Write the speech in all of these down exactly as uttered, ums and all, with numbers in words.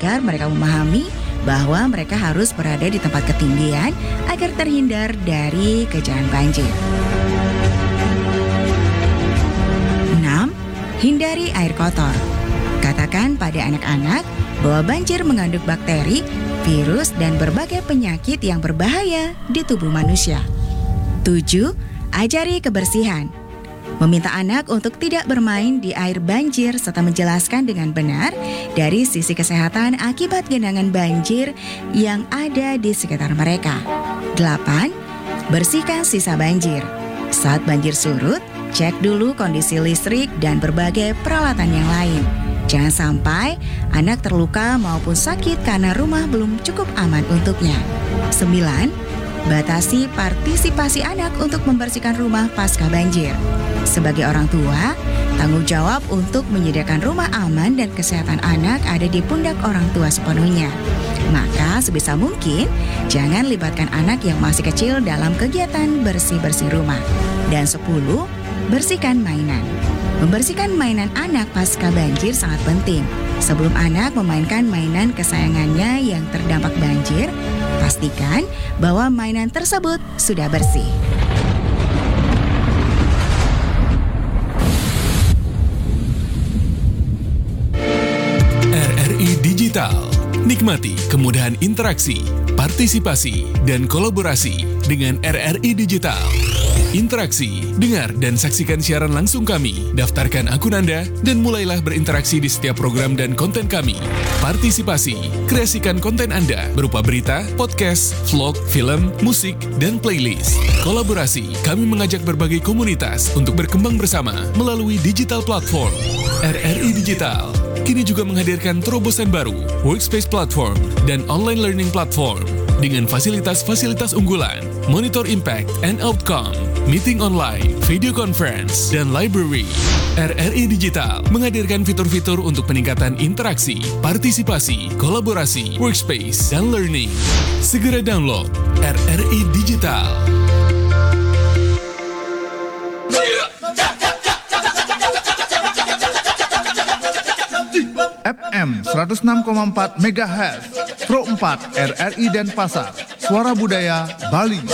Agar mereka memahami bahwa mereka harus berada di tempat ketinggian agar terhindar dari kejadian banjir. Enam, hindari air kotor. Katakan pada anak-anak bahwa banjir mengandung bakteri, virus, dan berbagai penyakit yang berbahaya di tubuh manusia. Tujuh, ajari kebersihan. Meminta anak untuk tidak bermain di air banjir serta menjelaskan dengan benar dari sisi kesehatan akibat genangan banjir yang ada di sekitar mereka. Delapan, bersihkan sisa banjir. Saat banjir surut, cek dulu kondisi listrik dan berbagai peralatan yang lain. Jangan sampai anak terluka maupun sakit karena rumah belum cukup aman untuknya. Sembilan, batasi partisipasi anak untuk membersihkan rumah pasca banjir. Sebagai orang tua, tanggung jawab untuk menyediakan rumah aman dan kesehatan anak ada di pundak orang tua sepenuhnya. Maka sebisa mungkin, jangan libatkan anak yang masih kecil dalam kegiatan bersih-bersih rumah. Dan sepuluh, bersihkan mainan. Membersihkan mainan anak pasca banjir sangat penting. Sebelum anak memainkan mainan kesayangannya yang terdampak banjir, pastikan bahwa mainan tersebut sudah bersih. R R I Digital. Nikmati kemudahan interaksi, partisipasi, dan kolaborasi dengan R R I Digital. Interaksi, dengar dan saksikan siaran langsung kami. Daftarkan akun Anda dan mulailah berinteraksi di setiap program dan konten kami. Partisipasi, kreasikan konten Anda berupa berita, podcast, vlog, film, musik, dan playlist. Kolaborasi, kami mengajak berbagai komunitas untuk berkembang bersama melalui digital platform. R R I Digital kini juga menghadirkan terobosan baru, workspace platform, dan online learning platform dengan fasilitas-fasilitas unggulan, monitor impact and outcome, meeting online, video conference, dan library. R R I Digital menghadirkan fitur-fitur untuk peningkatan interaksi, partisipasi, kolaborasi, workspace, dan learning. Segera download R R I Digital. F M seratus enam koma empat megahertz, Pro empat R R I Denpasar, Suara Budaya Bali.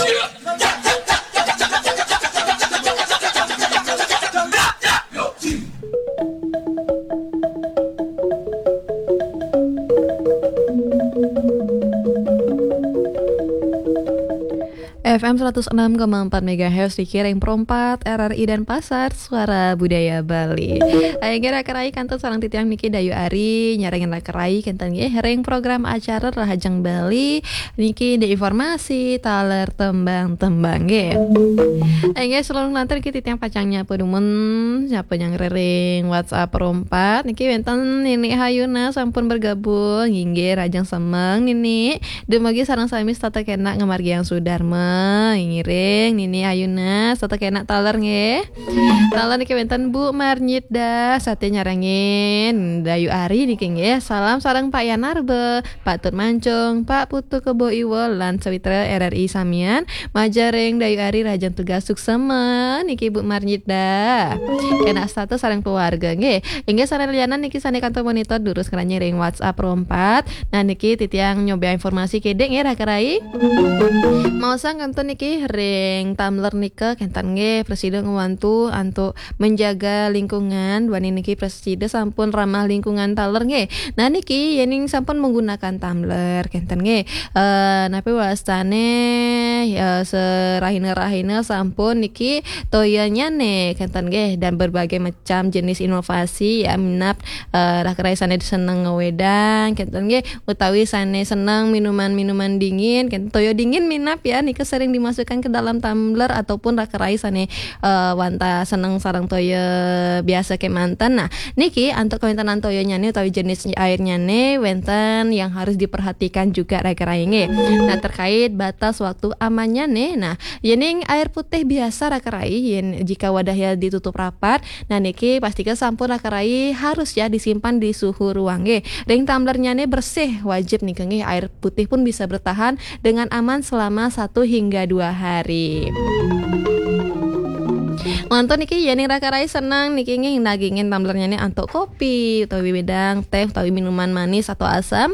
F M seratus enam koma empat megahertz di Kiring Pro empat R R I Denpasar, Suara Budaya Bali. Ayo nggih raka rai kantun sareng titiang niki Dayu Ari nyarengin raka rai kenten nggih ring program acara Rahajeng Bali niki di informasi taler tembang-tembang nggih. Ayo nggih sebelum nanti niki titiang pacang nyapa dumun, nyapa nyang ring WhatsApp Pro empat niki wenten Nini Hayuna sampun bergabung, inggih Rahajeng semeng Nini. Dumugi sareng sami setata kenak ngamargiang sudarma. Ngiring Nini Ayuna setata kenak taler nggih. Taler niki wenten Bu Marnyida sate nyarengin Dayu Ari niki nggih. Salam sareng Pak Yanarbe, Pak Tut Mancung, Pak Putu Kebo Iwo lan sawitra R R I samian. Majaring Dayu Ari Rahajeng tugas suksema niki Bu Marnyida. Kenak setata sareng keluarga nggih. Inggih sareng lianan niki sane kantor monitor durus ngranying ring WhatsApp Pro empat. Nah niki titiang nyoba informasi kedek nggih raka rai. Mau sang kantun niki ring tumbler nika kenten nggih presida ngwantu antuk menjaga lingkungan. Duaning niki presida sampun ramah lingkungan taler nggih. Nah niki yening sampun menggunakan tumbler kenten nggih. Eh napi wastane eh, serahina-rahina sampun niki toyanyane kenten nggih dan berbagai macam jenis inovasi ya minap eh, raka rai sane seneng ngewedang kenten nggih utawi sane seneng minuman-minuman dingin kenten toya dingin minap ya nika sering dimasukkan ke dalam tumbler ataupun raka rai sane eh, wantah seneng sareng toya biasa kemanten. Nah, niki antuk kawentanan toyanyane utawi jenis airnyane wenten yang harus diperhatikan juga raka rai nggih. Nah, terkait batas waktu amannyane. Nah, yening air putih biasa raka rai yen jika wadahnya ditutup rapat, nah niki pastika sampun raka rai harus ya disimpan di suhu ruang nggih. Ring tumblernyane bersih wajib nika nggih. Air putih pun bisa bertahan dengan aman selama satu hingga dua hari. Nglantur niki yening raka rai seneng niki nggih dagingin tumblernyane antuk kopi utawi wedang teh utawi minuman manis atau asam.